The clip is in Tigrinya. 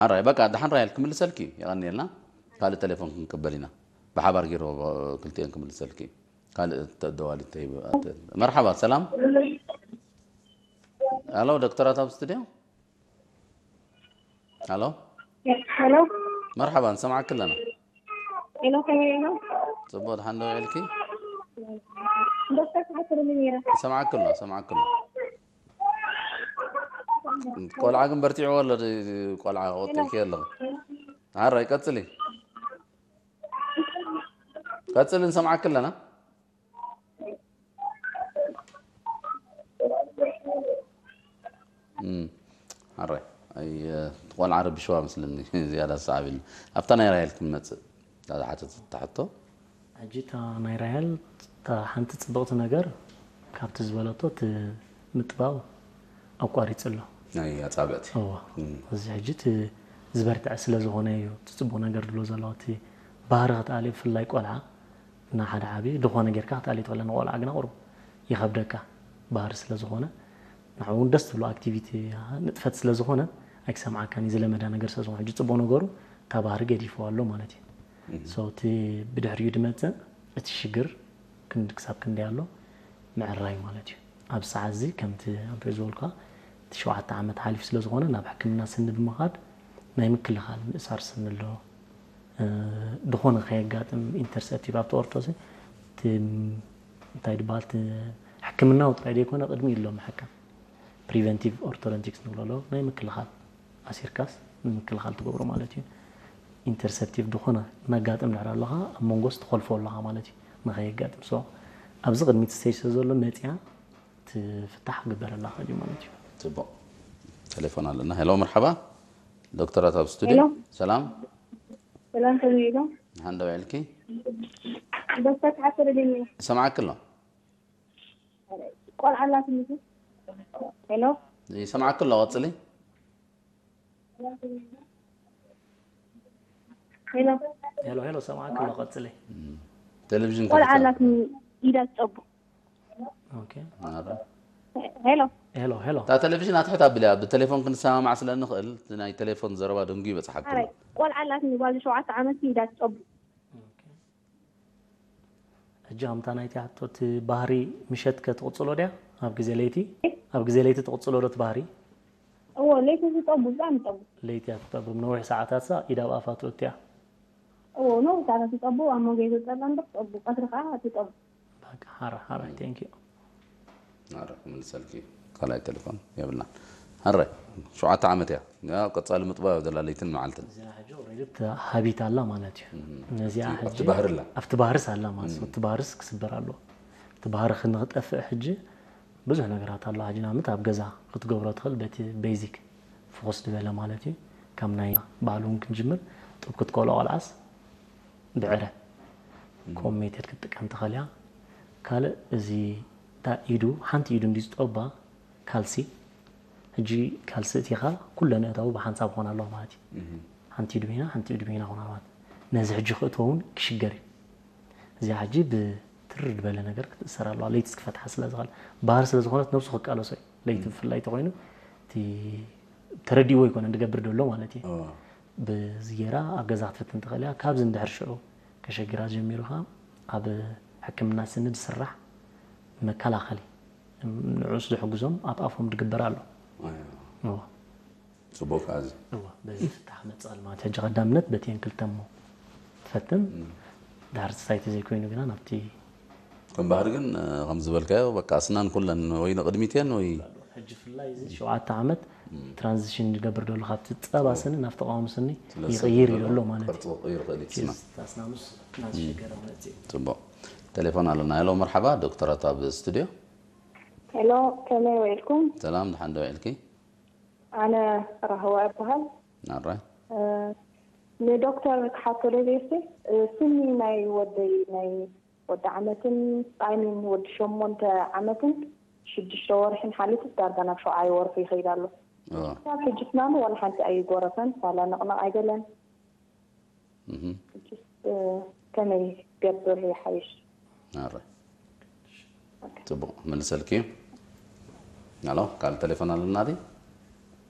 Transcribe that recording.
ኣራይ በቃ ደሓን ራይል ክምልሰልኪ እዩ። የቐንየልና። ካልእ ቴሌፎን ክንቅበል ኢና። ብሓባር ገይሩ ክልቲኤን ክምልሰልኪ እዩ። ካልእ ተደዋሊ ተይብ። መርሓባ ሰላም። ሄሎ ዶክተራት ኣብ ስቱዲዮ። ሄሎ ሄሎ መርሓባ ንሰማዓኪ ኣለና። ሄሎ ከመይ ኢኹም? ጽቡቕ ደሓን ዶ ውዒልኪ? ዶክተር ክሓትርኒ ነይረ። ሰማዓኪ ኣሎ ሰማዓኪ ኣሎ። ቆልዓ ግን በርቲዕዎ ኣሎ። ቆልዓ ቆጢርኪ ኣለኹ። ሓራይ ቀጽሊ። ቀጽሊ ንሰማዓኪ ኣለና። ሓራይ ኣይ ቆልዓ ረቢሽዋ መስለኒ። ዝያዳ ዝሰዓብ ኢሉ ኣብታ ናይ ራይል ክንመጽእ። እዛ ዝሓተተታ ሕቶ። ሕጂ እታ ናይ ራሄል እታ ሓንቲ ፅብቕቲ ነገር ካብቲ ዝበለቶ እቲ ምጥባው ኣቋሪፁ ኣሎ። ናይ ኣጻብዕቲ። እዎ። እዚ ሕጂ እቲ ዝበርትዐ ስለ ዝኾነ እዩ እቲ ፅቡቕ ነገር ድሎ ዘሎ። እቲ ባህሪ ክትኣልዮ ብፍላይ ቆልዓ እና ሓደ ዓብዪ ዝኾነ ጌርካ ክትኣልዮ ትኽእል ንቆልዓ ግና ቁሩብ ይኸብደካ ባህሪ ስለ ዝኾነ ንዓ እውን ደስ ትብሎ ኣክቲቪቲ ንጥፈት ስለ ዝኾነ ኣይክሰምዓካን እዩ ዝለመዳ ነገር ስለ ዝኾነ ሕጂ ፅቡቕ ነገሩ እታ ባህሪ ገዲፍዋ ኣሎ ማለት እዩ። So እቲ ብድሕሪኡ ድመፅእ እቲ ሽግር ክንዲ ክሳብ ክንደይ ኣሎ ምዕራይ ማለት እዩ። ኣብ ሰዓት እዚ ከምቲ ኣንቶይ ዝበልካ እቲ ሸውዓተ ዓመት ሓሊፉ ስለ ዝኾነ ናብ ሕክምና ስኒ ብምኻድ ናይ ምክልኻል ምእሳር ስኒ ኣሎ። ዝኾነ ከየጋጥም ኢንተርሰፕቲቭ ኣብቲ ኦርቶሲ እቲ እንታይ ድበሃል እቲ ሕክምናዊ ጥራይ ዘይኮነ ቅድሚ ኢሎ ምሕካም ፕሪቨንቲቭ ኦርቶዶንቲክስ ንብሎ ኣሎ ናይ ምክልኻል ኣሲርካስ ንምክልኻል ትገብሮ ማለት እዩ። ኢንተርሰፕቲቭ ዝኾነ እናጋጥም ድሕር ኣለኻ ኣብ መንጎስ ትኸልፎ ኣለኻ ማለት እዩ። ንኸየጋጥም so ኣብዚ ቅድሚት ስቴጅ ስለ ዘሎ መፅያ ትፍታሕ ክግበረላ ክእል እዩ ማለት እዩ። ጽቡቕ ቴሌፎን ኣለና። ሄሎ መርሓባ ዶክተራት ኣብ ስቱዲዮ። ሄሎ። ሰላም ሰላም ከመይ ኢሎ? ሓንደ ውዕልኪ። ዶክተር ተሓሰረ ደኒ ሰማዓኪ ኣሎ። ቆልዓ ኣላትኒ። ሄሎ ይሰማዓኪ ኣሎ ቀጽሊ። ሄሎ ሄሎ ሄሎ ሰማዕኪ ኣሎ ቀጽሊ። ቴሌቪዥን ቆልዓ ከፊታ። ኣላትኒ ኢዳ ትጸቡ። ኦኬ ኣረ። ሄሎ ሄሎ ሄሎ እታ ቴሌቪዥን ኣትሕት ኣቢላ ብቴሌፎን ክንሰማማዕ ስለ ንኽእል እቲ ናይ ቴሌፎን ዘረባ ደንጉ ይበጽሓኩም። ኣረ ቆልዓ ኣላትኒ ጓል ሸውዓተ ዓመት ኢዳ ትጸቡ። ኦኬ። ሕጂ ከምታ ናይቲ ሕቶ እቲ ባህሪ ምሸት ከ ትቕጽሎ ድያ ኣብ ግዜ ለይቲ ኣብ ግዜ ለይቲ ትቕጽሎ ዶ እቲ ባህሪ? እዎ ለይቲ ዝጸቡ ብጣዕሚ ይጸቡ። ለይቲ እያ ትጠብብ ነዊሕ ሰዓታት ሳ ኢዳ ኣብ ኣፋ ትእቱ እያ። እዎ ነዊሕ ሰዓታት ይጸቡ ኣብ መንጎ ይጸባ እምበር ትጸቡ ቀትሪ ከዓ ትጸቡ። በቃ ሓራ ሓራ thank you። ኣረ ክምልሰልኪ ካልኣይ ቴሌፎን የብልናን። ኣረ ሸውዓተ ዓመት እያ። ያ ቀጻሊ ምጥባብ ዘላ ለይትን መዓልትን። እዚኣ ሕጂ ኦልሬዲ እቲ ሃቢት ኣላ ማለት እዩ። ነዚኣ ኣብቲ ሕጂ ባህሪ ኣላ። ኣብቲ ባህርስ ኣላ ማለት እዩ። እቲ ባህርስ ክስበር ኣለዎ። እቲ ባህሪ ክንክጠፍእ ሕጂ ብዙሕ ነገራት ኣሎ። ሕጂ ንኣብነት ኣብ ገዛ ክትገብሮ ትኽእል በቲ ቤዚክ ፍኹስ ዝበለ ማለት እዩ። ካብ ናይ ባዕሉ እውን ክንጅምር ጡብ ክትቆሎ ቆልዓስ ብዕረ ኮም ሜተድ ክትጥቀም ትኽእል እያ። ካልእ እዚ እታ ኢዱ ሓንቲ ኢዱ እንዲ ዝጠባ ካልሲ ሕጂ ካልሲ እቲኻ ኩለን እታው ብሓንሳብ ክኾን ኣለዋ ማለት እዩ። ሓንቲ ኢዱ በይና ሓንቲ ኢዱ በይና ክኾን ኣለዋ። ነዚ ሕጂ ክእትዎ እውን ክሽገር እዩ። እዚኣ ሕጂ ብትርር ዝበለ ነገር ክትእሰር ኣለዋ ለይትስ ክፈትሓ ስለ ዝኽእል ባህር ስለ ዝኾነት ነብሱ ክቃለሶ እዩ። ለይቲ ብፍላይ ተኮይኑ እቲ ተረዲዎ ይኮነ ዝገብር ዘሎ ማለት እዩ። በዚ ጌራ ኣብ ገዛ ክትፍትን ትኽእል እያ። ካብዚ እንድሕር ሽዑ ከሸግራ ጀሚሩ ከዓ ኣብ ሕክምና ስኒ ዝስራሕ መከላኸሊ ንዑስ ዝሕግዞም ኣብ ኣፎም ዝግበር ኣሎ። እዎ። ጽቡቅ እዚ እዎ በዚ ፍታሕ መጽእ ኣሎ ማለት ሕጂ ቀዳምነት በቲን ክልተ እሞ ትፈትን ድሕር ሳይቲ ዘይኮይኑ ግና ናብቲ ከም ባህሪ ግን ከም ዝበልካዮ በቃ ኣስናን ኩለን ወይ ንቅድሚት እየን ወይ ሕጂ ፍላይ እዚ ሸውዓተ ዓመት ትራንዚሽን ዝገብር ዘሎ ካብቲ ጸባ ስኒ ናብቲ ቀዋሚ ስኒ ስለ ይቕይር እዩ ዘሎ ዘሎ ማለት ቅርጺ ክቕይር ይኽእል እዩ እቲ ስና። ኣስናኑስ እናተሸገረ መጽእ ጽቡቅ ቴሌፎን ኣለና። ሄሎ መርሓባ ዶክተራት ኣብ ስቱዲዮ። ሄሎ ከመይ ውዒልኩም? ሰላም ድሓን ዶ ውዒልኪ? ኣነ ራህዋ እበሃል። ናራይ ንዶክተር ክሓቶ ደልየ እስቲ ስኒ ናይ ወደይ ናይ ወዲ ዓመትን ጣይሚን ወዲ ሸሞንተ ዓመትን ሽዱሽተ ወርሕን ሓሊፉ ዳርጋ ናብ ሸውዓይ ወርሑ ይኸይድ ኣሎ። ኦ፣ ክሳብ ሕጂ ስናኑ ዋላ ሓንቲ ኣይጎረፈን ዋላ ነቕነቕ ኣይገለን። እህ፣ ሕጂስ ከመይ ገብር ይሓይሽ? ናራይ ጽቡቅ መልሰልኪ። ኣሎ ካልእ ቴሌፎን ኣለና ድዩ?